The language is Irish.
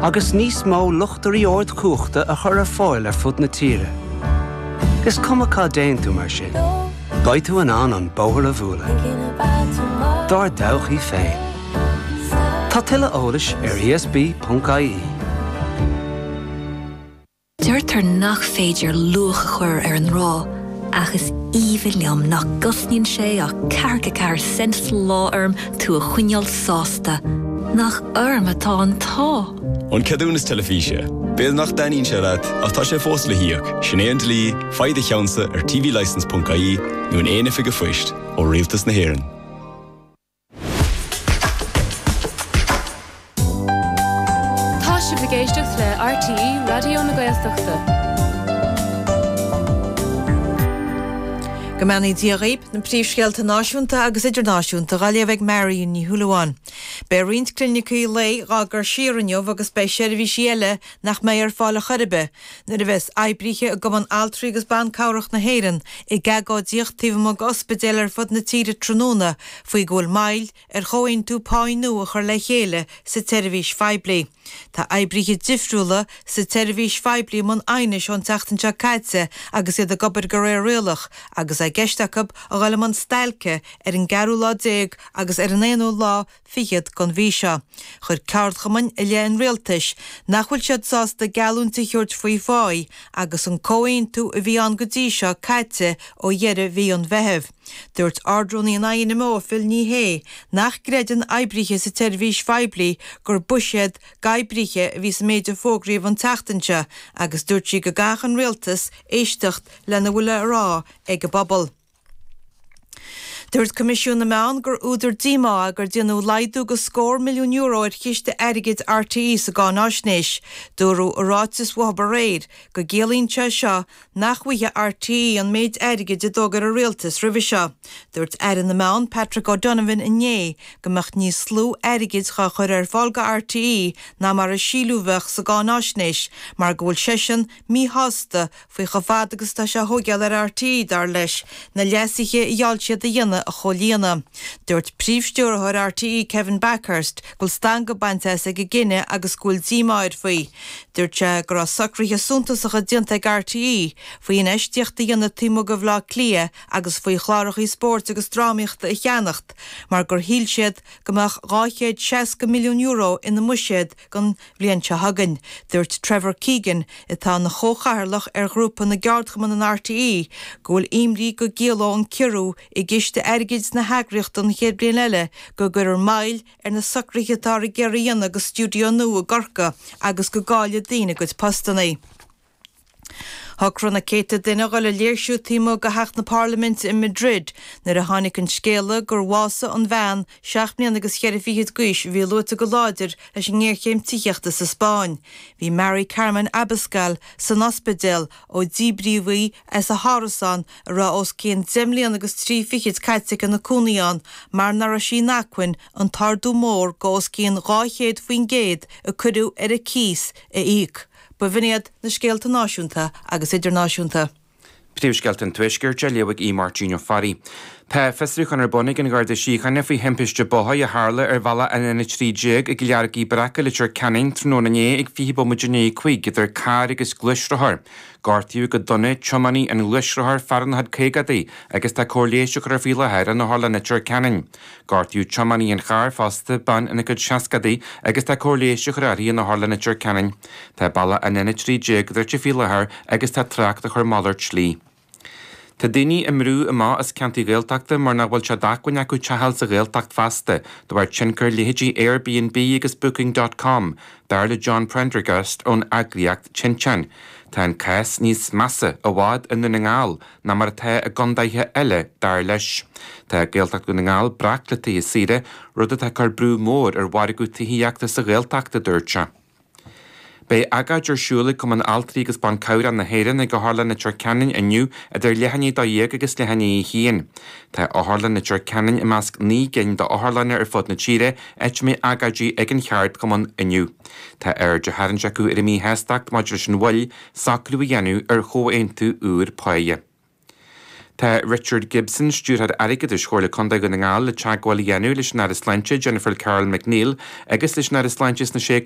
agus níos mó luchtairí ardchumhachta a chur ar fáil ar fud na tíre. Is cuma cá dtéann tú mar sin, beidh tú in ann an bóthar a bhualadh. Dár dtodhchaí féin. Tá tuilleadh eolais ar ESB.ie. Deirtear nach féidir luach a chur ar an ngrá, ach is aoibhinn liom nach gcosnaíonn sé ach ceathracha 4 cent sa lá orm tú a choinneáil sásta. Nach orm atá an t-ádh! An ceadúnas teilifíse. B'fhéidir nach dtaitníonn sé leat, ach tá sé fós le híoc. Sin é an dlí, faigh do cheannsa ar tvlicence.ie nó in aon oifig an phoist, ó Rialtas na hÉireann. Tá sibh ag éisteacht le RTÉ Raidió na Gaeltachta. Go mbeannaí Dia dhaoib, na príomhscéalta náisiúnta agus idirnáisiúnta dhá léamh ag Marion Ní Shúilleabháin. Beidh roinnt clinicí lae dhá gcur siar inniu agus beidh seirbhísí eile nach mbeidh ar fáil ar chor ar bith nuair a bheas oibríthe i gCumann Altraí agus Ban Cabhrach na hÉireann ag agóidíocht taobh amuigh d'ospidéil ar fud na tíre tráthnóna faoi go bhfuil moill ar chomhaontú páí nua a chur le chéile sa tseirbhís phoiblí. Tá oibríthe difriúla sa tseirbhís phoiblí i mbun aighnis ón tseachtain seo caite agus iad ag obair de réir rialach agus é i gceist acu a dhul i mbun stailce ar an gceathrú lá déag agus ar an aonú lá fichead den mhí seo. Chuir ceardchumainn i leith an rialtais nach bhfuil siad sásta geallúint a thabhairt faoi pháí agus an comhaontú a bhí ann go dtí seo caite ó dheireadh mhí an Mheithimh. Dúirt Ard-Rúnaí an INMO, Phil Ní Sheaghdha, nach gcreideann oibríthe sa tseirbhís phoiblí gur buiséad d'oibríthe a bhí sa méid a fógraíodh an tseachtain seo agus dúirt sí go gcaithfeadh an rialtas éisteacht lena bhfuil le rá ag an bpobal. Dúirt Coimisiún na Meán gur údar díomá é gur déanadh laghdú de scór milliún euro ar chiste airgid RTÉ sa gcáináisnéis. Dúradh i ráiteas uathu aréir go gciallaíonn sé seo nach bhfaighidh RTÉ an méid airgid a d'fhógair an Rialtas roimhe seo. Dúirt Aire na Meán Patrick O'Donovan inné go mbeadh níos lú airgid dhá chur ar fáil go RTÉ ná mar a síleadh a bheadh sa gcáináisnéis mar go bhfuil seisean míshásta faoi chomh fada agus atá sé a thóigeáil ar RTÉ, dar leis, na leasuithe a gheall siad a dhéanamh a chomhlíonadh. Dúirt Príomhstiúrthóir RTÉ Kevin Bakhurst go bhfuil stangadh bainte as ag an gcinneadh agus go bhfuil díomá air faoi. Dúirt sé go raibh socruithe suntasacha déanta ag RTÉ faoi infheistíocht a dhéanamh taobh amuigh de Bhaile Átha Cliath agus faoi chláracha spóirt agus drámaíochta a cheannacht mar gur shíl siad go mbeadh €260 milliún ina mbuiséad don bhliain seo chugainn. Dúirt Trevor Keegan, atá ina chomhchathaoirleach ar ghrúpa na gceardchumann in RTÉ, go bhfuil imní go gciallódh an ciorrú i gciste airgid na heagraíochta don chéad bhliain eile go gcuirfear moill ar na socruithe atáthar ag iarraidh a dhéanamh do stiúideo nua i gCorcaigh agus go gcaillfidh daoine a gcuid postanna. Shocraigh na céadta duine a dhul ag léirsiú taobh amuigh de theach na Parlaiminte i Madrid nuair a tháinig an scéala gur bhásaigh an bhean seacht mbliana agus cheithre fichid d'aois a bhí luaite go láidir leis an ngéarchéim tithíochta sa Spáinn. Bhí Mari Carmen Abascal san ospidéal ó díbríodh í as a hárasán a raibh os cionn deich mbliana agus trí fichid caite aici ina cónaí ann mar nach raibh sí in acmhainn an t-ardú mór de os cionn 200% a cuireadh ar a cíos a íoc. B'in iad na scéalta náisiúnta agus idirnáisiúnta. Príomhscéalta an Tuaiscirt á léamh ag Aodh Máirtín Ó Fearraigh. Tá fiosrúchán ar bun ag an Gharda Síochána faoi thimpiste bóthair a tharla ar bhealach an N13 i gCill Fheargaigh Breac i Leitir Ceanainn tráthnóna inné ag 20 bomaite i ndiaidh 5 idir carr agus gluaisrothar. Gortaíodh go dona tiománaí an ghluaisrothair, fear ina chuid caogaidí, agus tá cóir leighis á cur air faoi láthair in Otharlann Leitir Ceanainn. Gortaíodh tiománaí an chairr fosta, bean ina cuid seascadaí, agus tá cóir leighis á chur uirthi in Otharlann Leitir Ceanainn. Tá bealach an N13 druidte faoi láthair agus tá trácht á chur malairt slí. Tá daoine á mbrú amach as ceantair Ghaeltachta mar nach bhfuil sé d'acmhainn acu teach a fháil sa Ghaeltacht feasta de bharr tionchar leithéidí Airbnb agus Booking dot com, dar le John Prendergast ón eagraíocht Tinteán. Tá an cás níos measa i bhfad i nDún na nGall ná mar atá i gcondaetha eile, dar leis. Tá Gaeltacht Dhún na nGall breac le tithe saora, rud atá ag cur brú mór ar mhargadh tithíochta sa Ghaeltacht, a dúirt sé. Beidh agóid ar siúl ag Cumann Altraí agus Ban Cabhrach na hÉireann ag Otharlann Leitir Ceanainn inniu idir leath i ndiaidh 12 agus leath i ndiaidh 1. Tá Otharlann Leitir Ceanainn i measc 9 gcinn d'otharlanna ar fud na tíre áit a mbeidh agóidí ag an cheardchumann inniu. Tá aird á tharraingt acu ar a míshástacht maidir leis an mhoill socrú a dhéanamh ar chomhaontú úr páighe. Tá Richard Gibson, Stiúrthóir Airgeadais Chomhairle Contae Dhún na nGall le teagmháil a dhéanamh leis an Aire Sláinte Jennifer Carroll MacNeill agus leis an Aire Sláinte sna Sé.